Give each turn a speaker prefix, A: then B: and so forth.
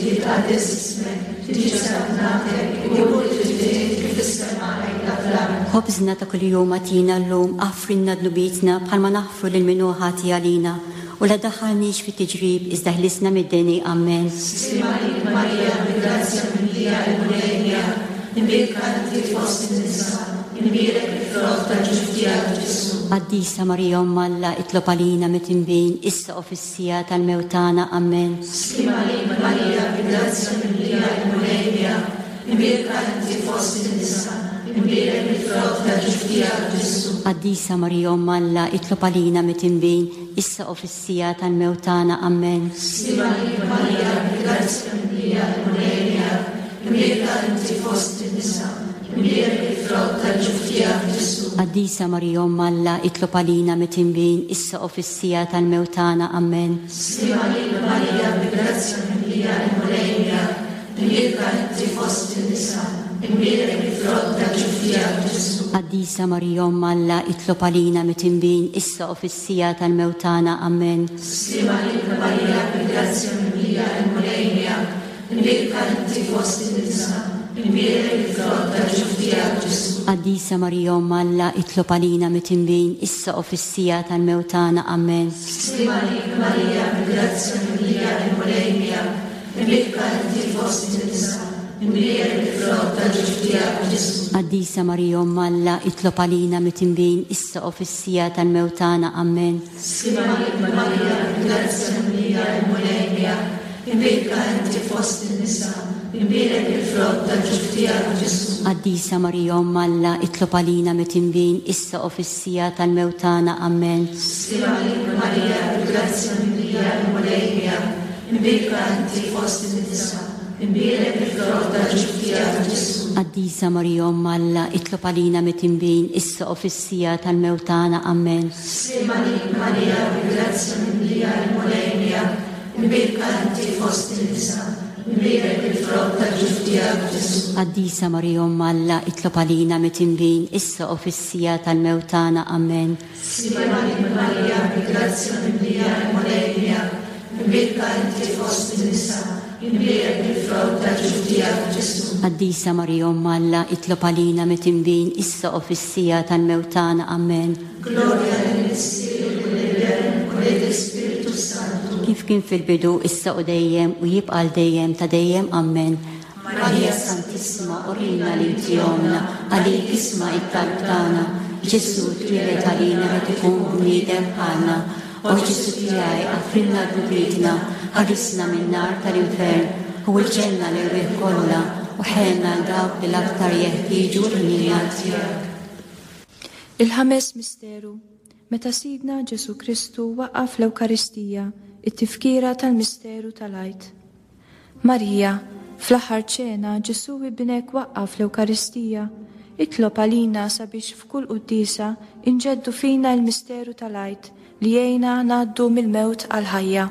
A: Jitqaddes ismek, tiġi saltnatek, ikun li trid int kif fis-sema hekk fl-art.
B: Ħobżna ta' kuljum agħtina llum, aħfrilna dnubietna bħalma naħfru lil min hu ħati għalina, u la ddaħħalniex fit-tiġrib iżda ħlisna mid-deni. Ammen.
A: Sliem għalik Marija, bi grazzja mimlija il-Mulej miegħek, imbierka inti fost in-nisa, imbierek il-frott tal-ġuf tiegħek Ġesù.
B: Qaddisa Marija Omm Alla itlob għalina midinbin, issa u fis Siegħa tal-mewt tagħna. Ammen.
A: Sliem għalik Marija, bi grazzja mimlija il-Mulej miegħek, imbierka inti fost in-nisa, imbierek il-frott tal-ġuf tiegħek Ġesù.
B: Qaddisa Marija Omm Alla, itlob għalina midinbin, issa u fis-siegħa tal-mewt tagħna. Ammen.
A: Sliem għalik Marija, bi grazzja mimlija il-Mulej miegħek, imbierka inti fost in-nisa, imbierek il-frott tal-ġuf tiegħek Ġesù.
B: Qaddisa Marija Omm Alla, itlob għalina midinbin, issa u fis-siegħa tal-mewt tagħna. Ammen.
A: Sliem għalik Marija, bi grazzja mimlija il-Mulej miegħek, imbierka inti fost in-nisa, imbierek il-frott tal-ġuf tiegħek Ġesù.
B: Qaddisa Marija Omm Alla, itlob għalina midinbin, issa u fis-siegħa tal-mewt tagħna. Ammen.
A: Sliem għalik Marija, bi grazzja mimlija il-Mulej miegħek, Imbierka inti fost in-nisa, imbierek il-frott tal-ġuf tiegħek Ġesù.
B: Qaddisa Marija Omm Alla, itlob għalina midinbin, issa u fis-siegħa tal-mewt tagħna. Ammen.
A: Sliem għalik Marija, bi grazzja mimlija il-Mulej miegħek, imbierka inti fost in-nisa, imbierek il-frott tal-ġuf tiegħek Ġesù.
B: Qaddisa Marija Omm Alla, itlob għalina midinbin, issa u fis-siegħa tal-mewt tagħna. Ammen.
A: Sliem għalik Marija, bi grazzja mimlija il-Mulej miegħek, Imbierka inti fost in-nisa, imbierek il-frott tal-ġuf tiegħek Ġesù.
B: Qaddisa Marija Omm Alla, itlob għalina midinbin, issa u fis-siegħa tal-mewt tagħna. Ammen.
A: Sliem għalik Marija, bi grazzja mimlija il-Mulej miegħek, imbierka inti fost in-nisa, imbierek il-frott tal-ġuf tiegħek Ġesù.
B: Qaddisa Marija Omm Alla, itlob għalina midinbin, issa u fis-siegħa tal-mewt tagħna. Ammen.
A: Sliem għalik Marija, bi grazzja mimlija il-Mulej miegħek, Imbierka inti fost in-nisa, imbierek il-frott tal-ġuf tiegħek Ġesù.
B: Qaddisa Marija Omm Alla, itlob għalina midinbin, issa u fis-siegħa tal-mewt tagħna. Ammen.
A: Sliem għalik Marija, bi grazzja mimlija il-Mulej miegħek, imbierka inti fost in-nisa, imbierek il-frott tal-ġuf tiegħek Ġesù.
B: Qaddisa Marija Omm Alla, itlob għalina midinbin, issa u fis-siegħa tal-mewt tagħna. Ammen.
A: Glorja lill-Missier u lill-Iben u lill-Ispirtu s-Santu.
B: Kif kien fil-bidu, issa u dejjem, u jibqa' għal dejjem ta' dejjem. Ammen. Marija Santissima, urina li inti ommna, għalik isma' it-talb tagħna. Ġesù twieled għalina rid ikun bniedem bħalna. O Ġesù tiegħi, aħfrilna dnubietna, ħarisna min-nar tal-infern, u l-ġenna l-erwieħ kollha, u ħenna għal dawk li l-aktar jeħtieġu l-ħniena tiegħek.
C: Il-ħames misteru, meta Sidna Ġesù Kristu waqqaf l-Ewkaristija, it-tifkira tal-misteru tal-Għid. Marija, fl-aħħar ċena Ġesù Ibnek waqqaf l-Ewkaristija, itlob għalina sabiex f'kull quddiesa inġeddu fina l-misteru tal-Għid li jgħinna ngħaddu mill-mewt għall-ħajja.